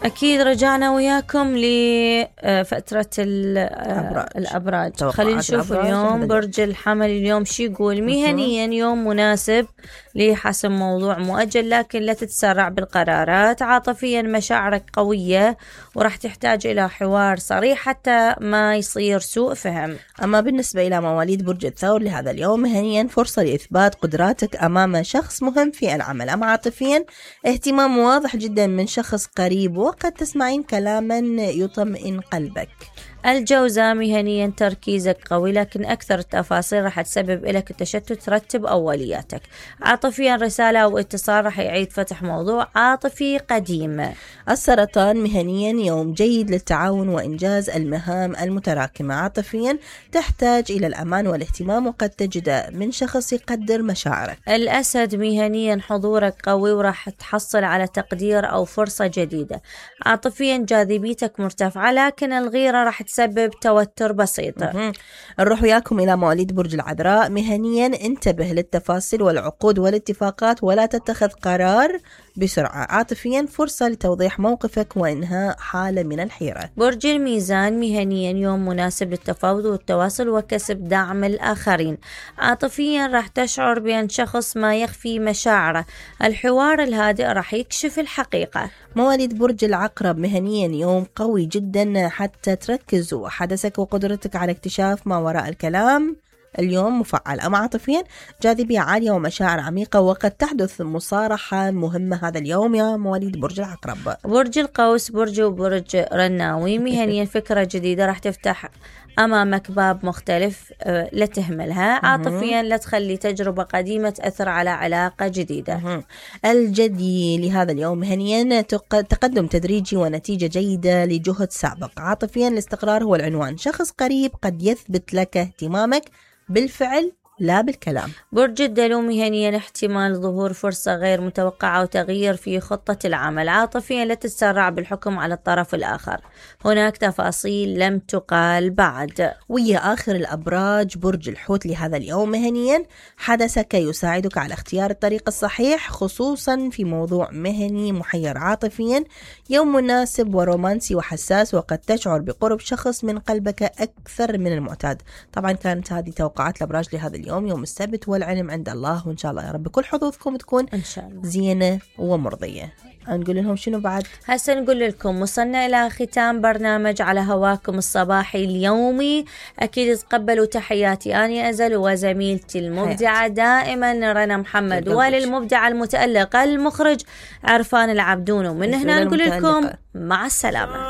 أكيد رجعنا وياكم لفترة الأبراج. خلينا نشوف اليوم برج الحمل اليوم شي يقول. مهنيا يوم مناسب لحسم موضوع مؤجل، لكن لا تتسرع بالقرارات. عاطفيا مشاعرك قوية وراح تحتاج إلى حوار صريح حتى ما يصير سوء فهم. أما بالنسبة إلى مواليد برج الثور لهذا اليوم، مهنيا فرصة لإثبات قدراتك أمام شخص مهم في العمل. أما عاطفيا اهتمام واضح جدا من شخص قريب، وقد تسمعين كلاما يطمئن قلبك. الجوزاء مهنيا تركيزك قوي، لكن أكثر التفاصيل راح تسبب لك التشتت. رتب أولياتك. عاطفيا رسالة أو اتصال راح يعيد فتح موضوع عاطفي قديم. السرطان مهنيا يوم جيد للتعاون وإنجاز المهام المتراكمة. عاطفيا تحتاج إلى الأمان والاهتمام، وقد تجد من شخص يقدر مشاعرك. الأسد مهنيا حضورك قوي وراح تحصل على تقدير أو فرصة جديدة. عاطفيا جاذبيتك مرتفعة، لكن الغيرة راح تسبب توتر بسيط. نروح وياكم إلى مواليد برج العذراء. مهنيا انتبه للتفاصيل والعقود والاتفاقات ولا تتخذ قرار بسرعة. عاطفيا فرصة لتوضيح موقفك وإنهاء حالة من الحيرة. برج الميزان مهنيا يوم مناسب للتفاوض والتواصل وكسب دعم الآخرين. عاطفيا راح تشعر بأن شخص ما يخفي مشاعره. الحوار الهادئ راح يكشف الحقيقة. مواليد برج العقرب مهنيا يوم قوي جدا حتى تركز حدثك وقدرتك على اكتشاف ما وراء الكلام اليوم مفعل. أما عاطفيا جاذبية عالية ومشاعر عميقة، وقد تحدث مصارحة مهمة هذا اليوم يا مواليد برج العقرب. برج القوس وبرج رناوي مهنيا فكرة جديدة راح تفتح أمامك باب مختلف، لا تهملها. عاطفيا لا تخلي تجربة قديمة تأثر على علاقة جديدة. الجدي لهذا اليوم مهنيا تقدم تدريجي ونتيجة جيدة لجهد سابق. عاطفيا الاستقرار هو العنوان. شخص قريب قد يثبت لك اهتمامك بالفعل لا بالكلام. برج الدلو مهنيا احتمال ظهور فرصة غير متوقعة وتغيير في خطة العمل. عاطفيا لا تتسرع بالحكم على الطرف الآخر، هناك تفاصيل لم تقال بعد. ويا آخر الأبراج برج الحوت لهذا اليوم مهنيا حدثك يساعدك على اختيار الطريق الصحيح، خصوصا في موضوع مهني محير. عاطفيا يوم مناسب ورومانسي وحساس، وقد تشعر بقرب شخص من قلبك أكثر من المعتاد. طبعا كانت هذه توقعات الأبراج لهذا اليوم يوم السبت، والعلم عند الله، وإن شاء الله يا رب كل حظوظكم تكون إن شاء الله زينة ومرضية. نقول لهم شنو بعد؟ هسه نقول لكم وصلنا إلى ختام برنامج على هواكم الصباحي اليومي. أكيد تقبلوا تحياتي أنا أزل وزميلتي المبدعة دائما رنا محمد، وللمبدع المتألق المخرج عرفان العبدون. ومن هنا نقول لكم مع السلامة.